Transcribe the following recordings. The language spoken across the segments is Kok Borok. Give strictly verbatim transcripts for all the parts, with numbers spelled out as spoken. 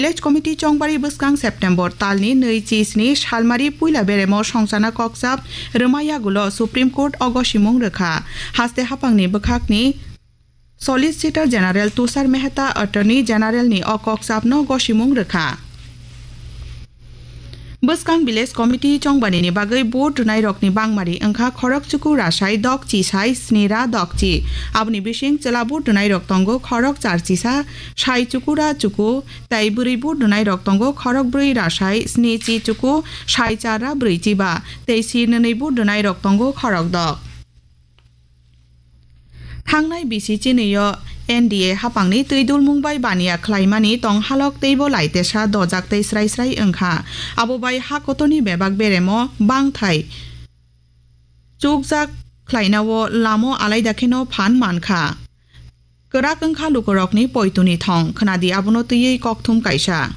Village Committee chongbari bwskang September talni nwi chi sni salmari puila beremo songchana kokchap rwma yagulo Supreme Court o gosimung rwkha. Haste haphangni bwkhakni Solicitor General Tushar Mehta Attorney General ni o kokchapno gosimung rwkha. Bwskang Village Committee chongbanini bagwi vote rwnairokni bangmari wngkha khorok chuku rasai dokchi sai sni ra dokchi. Aboni bising chwla vote rwnairok tongo khorok charchi sa sai chuku ra chuku, tei bwrwi vote rwnairok tongo khorok brwi rasai sni chi chuku sai char ra brwi chi ba, tei sir nwnwi vote rwnairok tongo khorok dok. Thangnai bisi chinwi-o N D A haphangni twi dulmung bai baniya khlaimani tong halok teibo laitesa dojak tei srai srai wngkha. Abo bai ha kotorni bebak beremo bangthai chukjak khlainao lamo alaida kheno phan mankha. Kwrak wngkha lukurokni poituni thong, khwnadi abono twiwi kokthum kaisa.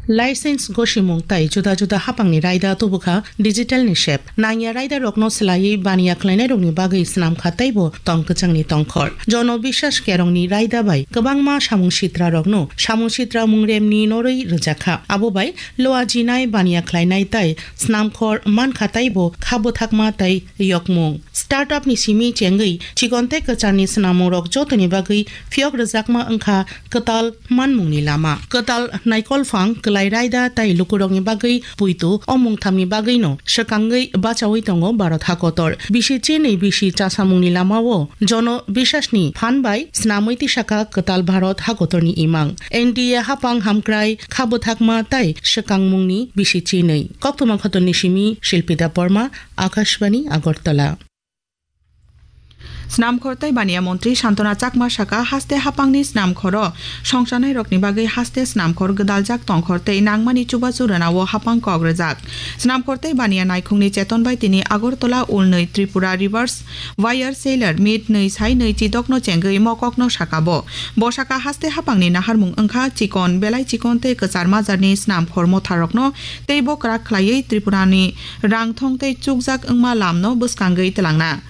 License gosimung tai juda juda haphangni raida tubukha digital ni sep. Nangya raida rokno swlaiwi baniya khlainai rokni bagwi swnamkha teibo tong kwchangni tongkhor. Jono Biswas Kerongni raida bai kwbangma samung sitra rokno samung sitra mungremni norwi rwjakha. Abo bai loa jinai baniya khlainai tai swnamkhor mankha teibo kha bwthakma tai yokmung. Startup ni simi chengwi chikon tei kwcharni swnamungrok jotoni bagwi phiyok rwjakma wngkha kwtal manmungni lama. Kwtal naikolphang, kwlai raida tei lukurokni bagwi puitu o mungthamni bagwino swkangwi bachaui tongo Bharat hakotor. Bisi chinwi bisi chasamungni lamao Jono Biswasni phan bai swnamwi tisakha kwtal Bharat hakotorni imang. N D A haphang hamkrai kha bwthakma tei swkangmungni bisi chinwi. Koktwma Khotoni simi Shilpida Borma, Akashbani, Agartala. Snamkhor tei baniya montri Santona Chakma saka, haste haphangni snamkhoro songchanairokni bagwi haste snamkhor gwdaljak tongkhor tei nangmani chubachu rwnao haphang kok rwjak. Snamkhor tei baniya naikhungni cheton bai tini Agartala Ulnwi Tripura Rivers Wire Seller Meet nwi sai nwi chidokno chengwi mokokno saka bo. Bo saka haste haphangni naharmung wngkha chikon, belai chikon tei kwchar majarni snamkhor motharokno tei bo kwrak khlaiwi Tripurani rangthong tei chukjak wngma lamno bwskangwi twlangna.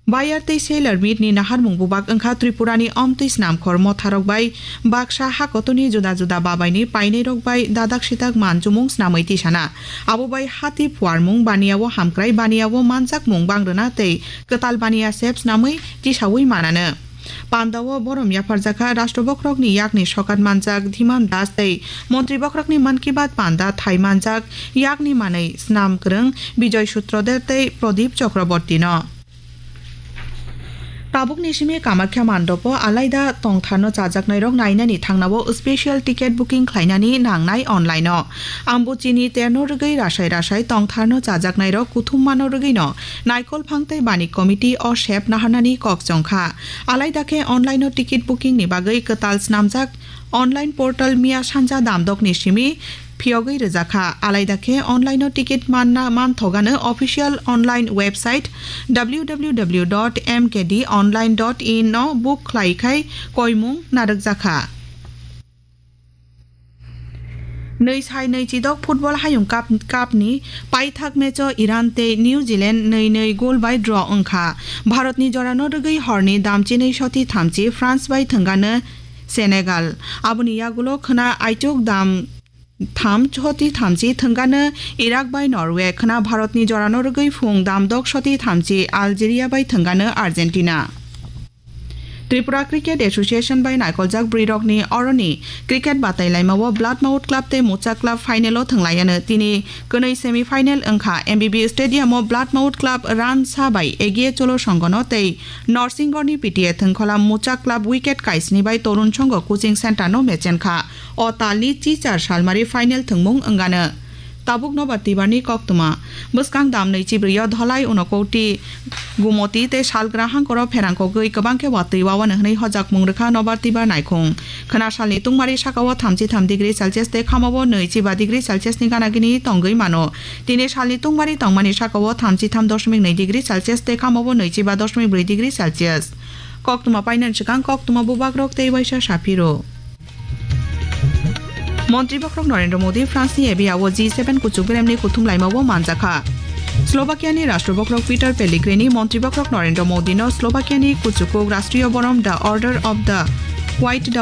Buyer tei seller meet ni naharmung bubak wngkha Tripura ni omtwi snamkhor motharok bai baksa hakotoni juda juda babai ni painai rok bai dadak sidak manchumung snamwi tisana. Abo bai hati phuarmung, baniya o hamkrai, baniya o manjakmung bangrwna tei kwtal baniya sep snamwi tisawi mananw. Panda o borom yapharjakha Rashtra Bokhorok ni yakni sokat manjak Dhiman Das tei Montri Bokhorok ni Mann Ki Baat panda thai manjak yakni manwi snam kwrwng Bijoy Sutroder tei Pradip Chakraborty no. Tabukni simi Kamakhya mandopo alaida tongtharno chajaknairok nainani thangnao special ticket booking khlainani nangnai online-o. Ambuchini terno rwgwi rasai rasai tongtharno chajaknairok kuthum mano rwgwino Naikolphang tei Bani Committee o sep naharnani kok chongkha. Alaida khe online-o ticket booking ni bagwi kwtal snamjak online portal miya sanja damdokni simi phiyogwi rwjakha. Alaida khe online-o ticket manna manthogano official online website W W W dot M K D online dot in no book khlai khai koimung narwkjakha. Nwi sai nwi chidok football hayung cup, cup ni paithak match-o Iran tei New Zealand nwi nwi goal bai draw wngkha. Bharatni jorano rwgwi horni damchinwi soti thamchi France bai thwngano Senegal. Aboni yagulo khwna aichuk dam tham choti thamchi thwngano Iraq bai Norway, khwna Bharatni jorano rwgwi phung dam dok soti thamchi Algeria bai thwngano Argentina. Tripura Cricket Association bai naikoljak bwrwirokni oroni cricket batailaimao Blood Mouth Club tei Mucha Club final-o thwnglaiano. Tini kwnwi semi final wngkha. M B B Stadium-o Blood Mouth Club run sa bai Egiye Cholo Songhono tei Norsingorni P T A thwngkhola Mucha Club wicket kaisni bai Torun Songho Coaching Center-no mechenkha. O talni chichar salmari final thwngmung wngano. Tabuk Nobar Tibarni koktwma. Bwskang dam nwi chibrwi-o Dholai, Unakoti, Gumoti tei Salgrahang koro pherangkogwi kwbang khe watwi wawanw hwnwi hojakmung rwkha Nobar Tibar naikhung. Khwna salni tungmari sakao thamchi tham degree Celsius tei khamao nwi chiba degree Celsius ni gana gini tongwi mano. Tini salni tungmari tongmani sakao thamchi tham dosmik nwi degree Celsius tei khamao nwi chiba dosmik brwi degree Celsius. Koktwma painani swkang koktwma bubagrok tei waisa saphiro. Montri Bokhorok Narendra Modi France ni Avia o G seven kuchuk beremni kuthum laimao manjakha. Slovakia ni Rashtra Bokhorok Peter Pellegrini Montri Bokhorok Narendra Modi no Slovakia ni kuchukuk Rashtriya Borom, the Order of the White